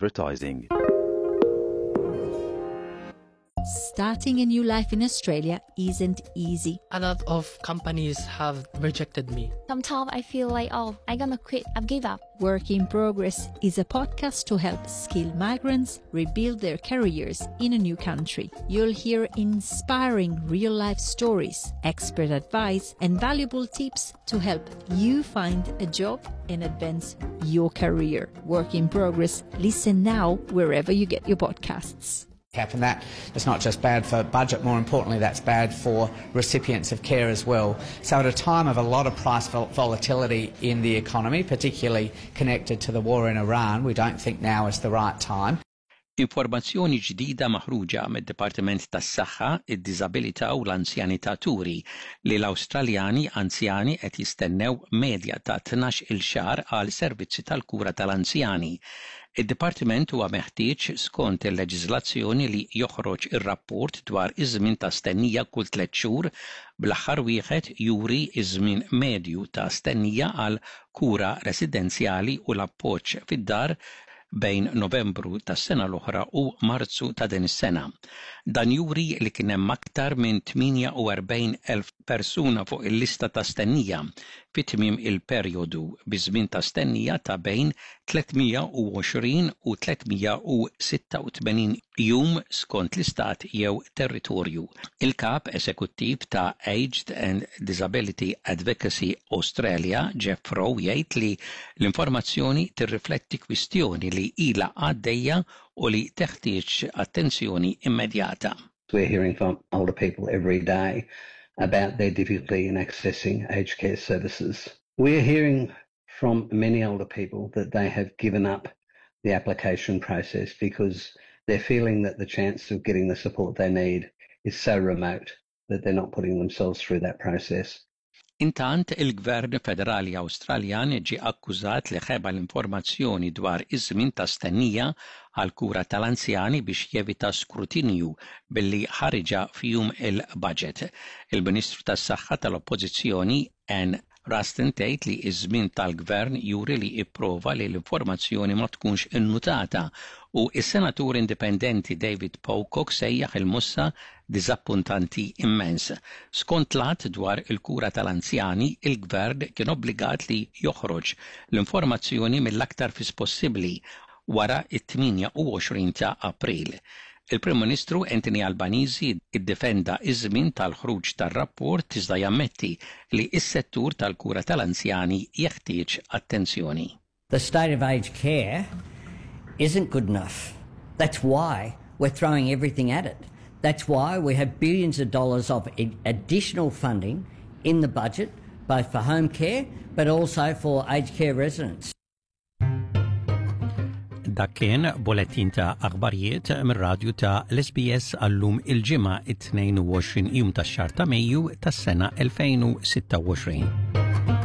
Advertising. Starting a new life in Australia isn't easy. A lot of companies have rejected me. Sometimes I feel like, oh, I'm gonna quit, I've give up. Work in Progress is a podcast to help skilled migrants rebuild their careers in a new country. You'll hear inspiring real life stories, expert advice, and valuable tips to help you find a job and advance your career. Work in Progress. Listen now wherever you get your podcasts. Cap and that is not just bad for budget, more importantly, that's bad for recipients of care as well. So at a time of a lot of price volatility in the economy, particularly connected to the war in Iran, we don't think now is the right time. Informazzjoni ġdida maħruġa mid-Dipartiment tas-Saħħa, id-Diżabilità u l-Anzjanità turi li l-Awstraljani anzjani qed jistennew medja ta' 12-il xahar għal servizzi tal-kura tal-anzjani. Id-Dipartiment huwa meħtieġ skont il-leġiżlazzjoni li joħroġ ir-rapport dwar iż-żmien ta' stennija kull tlett xhur, bl-aħħar wieħed juri ż-żmien medju ta' stennija għal kura residenzjali u l-appoġġ fid-dar bejn Novembru tas-sena l-oħra u Marzu ta' din is-sena. Dan juri li kien hemm aktar minn 48,000 persuna fuq il-lista ta' stennija fi tmiem il-perjodu, bi żmien ta' stennija ta' bejn 320 u 386 jum skont l-istat jew territorju. Il-Kap Esekuttiv ta' Aged and Disability Advocacy Australia, Jeff Rowe jgħid li l-informazzjoni tirrifletti kwistjoni li ilha għaddejja u li teħtieġ attenzjoni immedjata. We're hearing from older people every day about their difficulty in accessing aged care services. We're hearing from many older people that they have given up the application process because they're feeling that the chance of getting the support they need is so remote that they're not putting themselves through that process. Intant, il-Gvern Federali Awstraljan ġie akkużat li ħeba l-informazzjoni dwar iż-żmien ta' stennija għall-kura tal-anzjani biex jevita skrutinju billi ħariġha f'jum il-budget. Il-Ministru tas-Saħħa tal-Oppożizzjoni, Anne Ruston tgħid li ż-żmien tal-Gvern juri li ipprova li l-informazzjoni ma tkunx innutata u s-Senatur Indipendenti David Pocock sejjaħ il-mossa diżappuntanti immens. Skont l-Att dwar il-Kura tal-Anzjani, il-Gvern kien obbligat li joħroġ l-informazzjoni mill-aktar fis possibbli wara t-28 ta' April. Il-Prim Ministru Anthony Albanese iddefenda ż-żmien tal-ħruġ tar-rapport iżda jammetti li s-settur tal-kura tal-anzjani jeħtieġ attenzjoni. The state of aged care isn't good enough. That's why we're throwing everything at it. That's why we have billions of dollars of additional funding in the budget, both for home care but also for aged care residents. Dak kien bolettin ta' aħbarijiet mir-radju ta' l-SBS għallum il-ġimgħa 22 jum tax-xahar ta' Mejju tas-sena 2026.